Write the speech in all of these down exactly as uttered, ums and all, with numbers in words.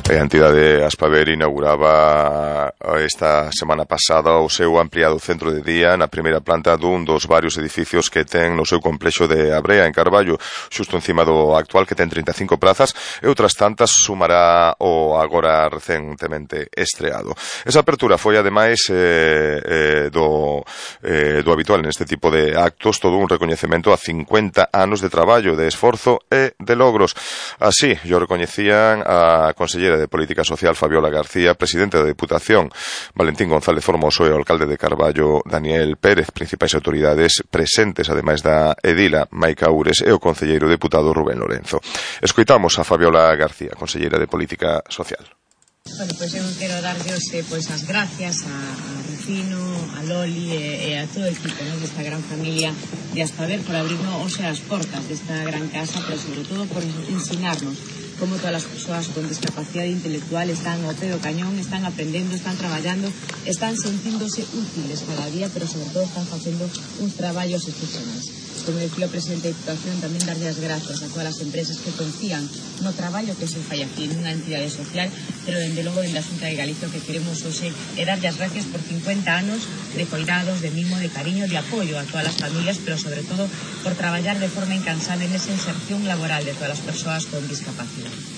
A entidade Aspaver inauguraba esta semana pasada o seu ampliado centro de día na primeira planta dun dos varios edificios que ten no seu complexo de Abrea, en Carballo, xusto encima do actual, que ten trinta e cinco prazas, e outras tantas sumará o agora recentemente estreado. Esa apertura foi, ademais, eh, eh, do, eh, do habitual neste tipo de actos, todo un recoñecemento a cincuenta anos de traballo, de esforzo e de logros. Así, yo recoñecían a consellera de Política Social Fabiola García, presidente da Deputación Valentín González Formoso e o alcalde de Carballo Daniel Pérez, principais autoridades presentes, ademais da edila Maica Ures e o concelleiro deputado Rubén Lorenzo. Escoitamos a Fabiola García, consellera de Política Social. Bueno, pois eu quero darlle hoxe pois as gracias a, a Rufino, a Loli e, e a todo o equipo, ¿no?, desta gran familia de Aspaver por abrirnos hoxe as portas desta gran casa, pero sobre todo por ensinarnos como todas as persoas con discapacidade intelectual están ao pé do cañón, están aprendendo, están traballando, están sentíndose útiles cada día, pero sobre todo están facendo uns traballos excepcionais. Como decía o presidente da Diputación, tamén darlle as gracias a todas as empresas que confían no traballo que se fai aquí nunha entidade social, pero dende logo dende a Xunta de Galicia o que queremos hoxe é darlle as gracias por cincuenta anos de cuidados, de mimo, de cariño, de apoio a todas as familias, pero sobre todo por traballar de forma incansable nesa inserción laboral de todas as persoas con discapacidade.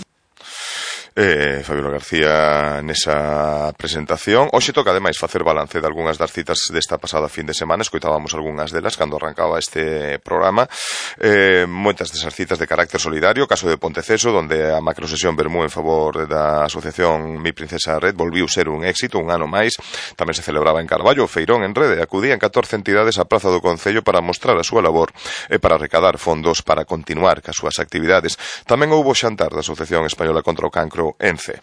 Eh, Fabiola García nesa presentación. Hoxe toca ademais facer balance de algunhas das citas desta pasada fin de semana. Escoitábamos algunhas delas cando arrancaba este programa. eh, Moitas desas citas de carácter solidario. Caso de Ponteceso, donde a macrosesión Bermú en favor da asociación Mi Princesa Red volviu ser un éxito un ano máis. Tamén se celebraba en Carballo o Feirón en Rede. Acudían catorce entidades á praza do Concello para mostrar a súa labor e para recadar fondos para continuar cas súas actividades. Tamén houbo xantar da Asociación Española contra o Cancro ENCE.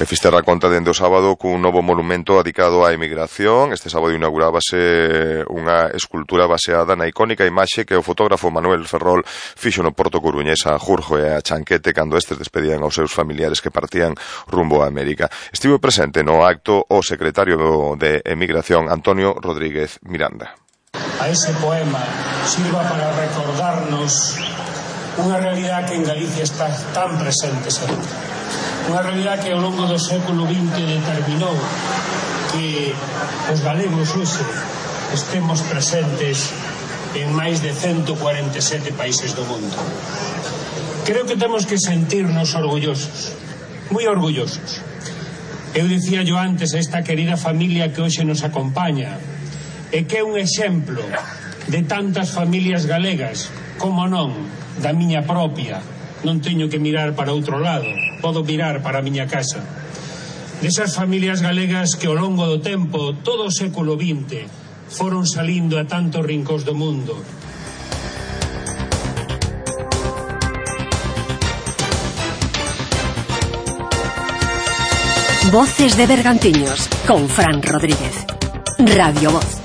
E Fisterra conta dende o sábado cun novo monumento dedicado á emigración. Este sábado inaugurábase unha escultura baseada na icónica imaxe que o fotógrafo Manuel Ferrol fixo no Porto Coruñés a Jurjo e a Chanquete cando estes despedían aos seus familiares que partían rumbo a América. Estivo presente no acto o secretario de Emigración Antonio Rodríguez Miranda. A ese poema sirva para recordarnos unha realidade que en Galicia está tan presente sempre. Unha realidade que ao longo do século vinte determinou que os galegos hoxe estemos presentes en máis de ciento cuarenta e sete países do mundo. Creo que temos que sentirnos orgullosos, moi orgullosos. Eu dicía yo antes a esta querida familia que hoxe nos acompaña e que é un exemplo de tantas familias galegas, como non, da miña propia. Non teño que mirar para outro lado, podo mirar para a miña casa. Desas familias galegas que ao longo do tempo, todo o século vinte, foron salindo a tantos rincóns do mundo. Voces de Bergantiños, con Fran Rodríguez. Radio Voz.